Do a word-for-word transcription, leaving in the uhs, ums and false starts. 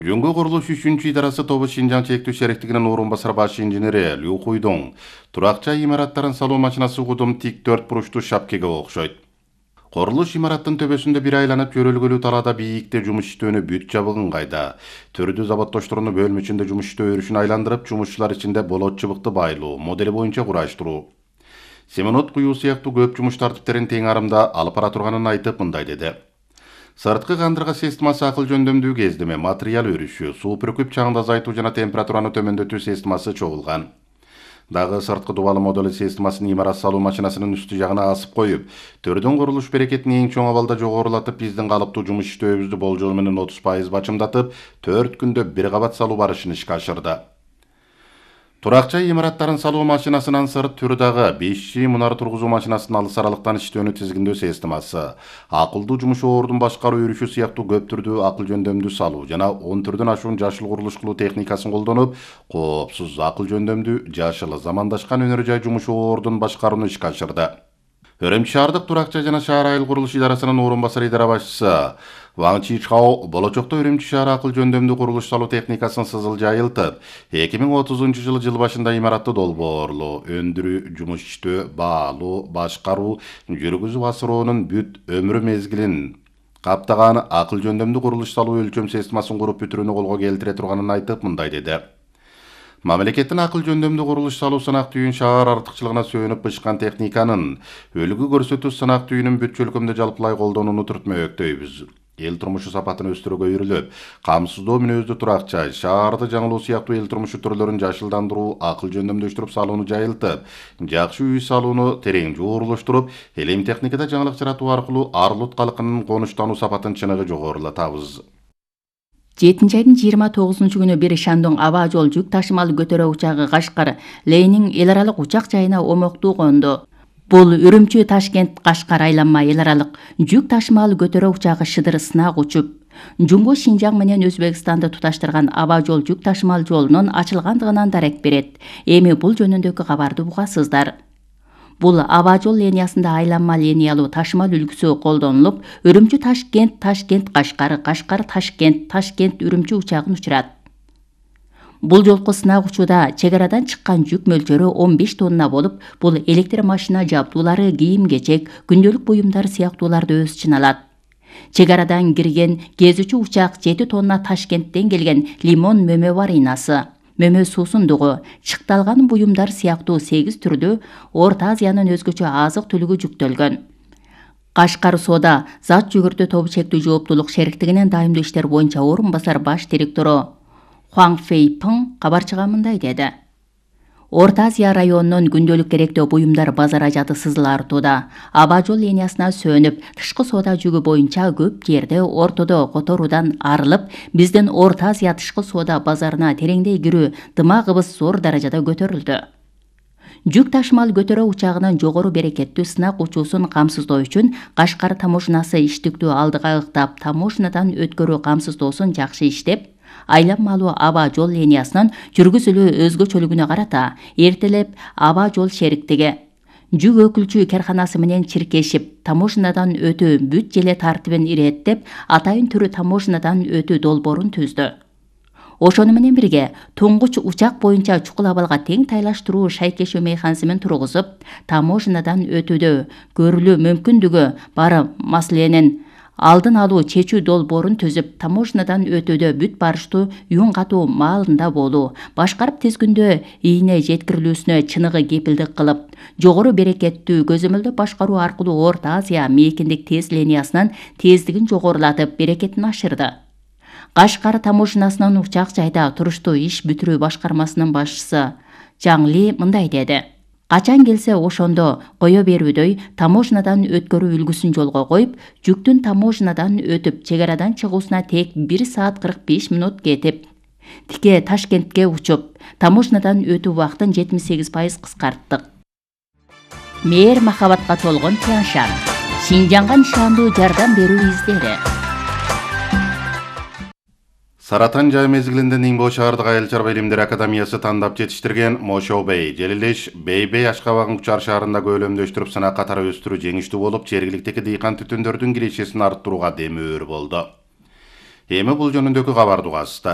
Жөнгө курулуш үчүнчү идарасы тобу Шинжаң чектүү шериктигинин орун басар баш инженери Лю Хуйдоң турак жай имараттарын салуу машинасы кудум тик төрт буруштуу шапкеге окшойт. Курулуш имараттын төбөсүндө бир айланып жөрөлгөлүү талаада бийикте жумуш иштөөнү бүт жабыгын кайда. Төрдү заводдошторунун бөлмөчүндө жумуш иштөө өрүшүн айландырып, жумушчулар ичинде болот чыбыкты байлоо модели боюнча кураштыруу. Семенот куюу сыяктуу көп жумуш тартиптерин тең арымда алып бара турганын айтып мындай деди. Сырткы кандырга системасы акыл жөндөмдүү кездеме, материал өрүшү, суу пүркүп чаңды азайтуу жана температураны төмөндөтүү системасы чогулган. Дагы сырткы дубалы модули системасын имарат салуу машинасынын үстү жагына асып коюп, төрдүн курулуш берекетин эң чоң абалда жогорулатып, биздин калыптуу жумуш иштөөбүздү болжол менен отуз пайыз бачымдатып, төрт күндө бир кабат салуу барышын ишке ашырды. Турак жай имараттарын салуу машинасынан сырт түрү дагы беш жи мунар тургузуу машинасынын алыс аралыктан иштөөнү тизгиндөө системасы, акылдуу жумуш ордун башкаруу өрүшү сыяктуу көп түрдүү акыл жөндөмдүү салуу жана он түрдөн ашуун жашыл курулуш кылуу техникасын колдонуп, коопсуз акыл жөндөмдүү жашыл замандашкан өнөр жай жумуш ордун башкарууну ишке ашырды. Өрөмчү шаардык турак жай жана шаар айыл курулуш идарасынын орун басар идара башчысы Ван Чичхао болочокто Өрөмчү шаары акыл жөндөмдүү курулуш салуу техникасын сызыл жайылтып, эки миң отузунчу жылы жыл башында имаратты долбоорлоо, өндүрүү, жумуш иштөө, баалуу, башкаруу, жүргүзүп асыроонун бүт өмүрү мезгилин каптаган акыл жөндөмдүү курулуш салуу өлчөм системасын куруп бүтүрүүнү колго келтире турганын айтып мындай деди. Мамлекеттин акыл жөндөмдүү курулуш салуу сынак түйүн шаар артыкчылыгына сөөнүп бышкан техниканын өлгү көрсөтүү сынак түйүнүн бүт чөлкөмдө жалпылай колдонууну түртмөктөйбүз. Эл турмушу сапатын өстүрүүгө үйрүлүп, камсыздоо мүнөздүү турак жай, шаарды жаңылоо сыяктуу эл турмушу түрлөрүн жашылдандыруу, акыл жөндөмдөштүрүп салууну жайылтып, жакшы үй салууну терең жуурлуштуруп, элем техникада жаңылык жаратуу аркылуу арлут калкынын конуштануу сапатын чыныгы жогорулатабыз. жетинчи айдын жыйырма тогузунчу күнү бир Шандон аба жол жүк ташымал көтөрө учагы Кашкар Ленин эл аралык учак жайына омоктуу конду. Бул Үрүмчү Ташкент Кашкар айланма эл аралык жүк ташымал көтөрө учагы Шыдыр сынак учуп, Жумго Шинжаң менен Өзбекстанды туташтырган аба жол жүк ташымал жолунун ачылгандыгынан дарек берет. Эми бул жөнүндөгү кабарды угасыздар. Бул аба жол линиясында айланма линиялуу ташымал үлгүсү колдонулуп, Үрүмчү Ташкент, Ташкент Кашкар, Кашкар Ташкент, Ташкент Үрүмчү учагын учурат. Бул жолку сынак учууда чек арадан чыккан жүк мөлчөрү он беш тонна болуп, бул электр машина жабдуулары, кийим-кечек, күндөлүк буюмдар сыяктууларды өз ичине алат. Чек арадан кирген кезүүчү учак жети тонна Ташкенттен келген лимон мөмө варинасы, мөмө суусундугу, чыкталган буюмдар сыяктуу сегиз түрдүү Орто Азиянын өзгөчө азык түлүгү жүктөлгөн. Кашкар соода зат жүгүртүү тобу чектүү жооптуулук шериктигинин дайымдуу иштер боюнча орун басар баш директору Хуаң Фейпың кабарчыга мындай деди. Орто Азия районунун күндөлүк керектөө буюмдар базар ажаты сызыл артууда. Аба жол линиясына сөнүп, тышкы соода жүгү боюнча көп жерде ортодо которуудан арылып, биздин Орто Азия тышкы соода базарына тереңдей кирүү дымагыбыз зор даражада көтөрүлдү. Жүк ташымал көтөрө учагынын жогору берекеттүү сынак учуусун камсыздоо үчүн Кашкар таможнасы иштиктүү алдыга ыктап, таможнадан өткөрүү камсыздоосун жакшы иштеп, айланмалуу аба жол линиясынын жүргүзүлүү өзгөчөлүгүнө карата эртелеп аба жол шериктиги жүк өкүлчү карканасы менен чиркешип, таможнадан өтүү бүт желе тартибин иреттеп, атайын түрү таможнадан өтүү долбоорун түздү. Ошону менен бирге туңгуч учак боюнча чукул абалга тең тайлаштыруу шайкешөө механизмин тургузуп, таможнадан өтүүдө көрүлүү мүмкүндүгү бар маселенин алдын алуу чечүү долбоорун түзүп, таможнадан өтүүдө бүт барыштуу юн катуу маалында болуу, башкарып тез күндө ийне жеткирилүүсүнө чыныгы кепилдик кылып, жогору берекеттүү көзөмөлдөп башкаруу аркылуу Орто Азия мейкиндик тез линиясынын тездигин жогорулатып, берекетин ашырды. Кашкар таможнасынын учак жайда туруштуу иш бүтүрүү башкармасынын башчысы Жаң Ли мындай деди. Качан келсе ошондо кое берүүдөй таможнадан өткөрүү үлгүсүн жолго коюп, жүктүн таможнадан өтүп, чек арадан чыгуусуна тек бир саат кырк беш мүнөт кетип, тике Ташкентке учуп, таможнадан өтүү убактын жетимиш сегиз пайыз кыскарттык. Мээр махабатка толгон Тяншан, Шинжаңга нишандуу жардам берүү издери. Саратан жай мезгилинде Нимбо шаардык айыл чарба илимдери академиясы тандап жетиштирген Мошо Бей, Желилеш Бейбей Ашкабагын Кучар шаарында көлөмдөштүрүп сынак катары өстүрүү жеңиштүү болуп, жергиликтеги дыйкан түтүндөрдүн кирешесин арттырууга демөөр болду. Эми бул жөнүндөгү кабарды угасыздар.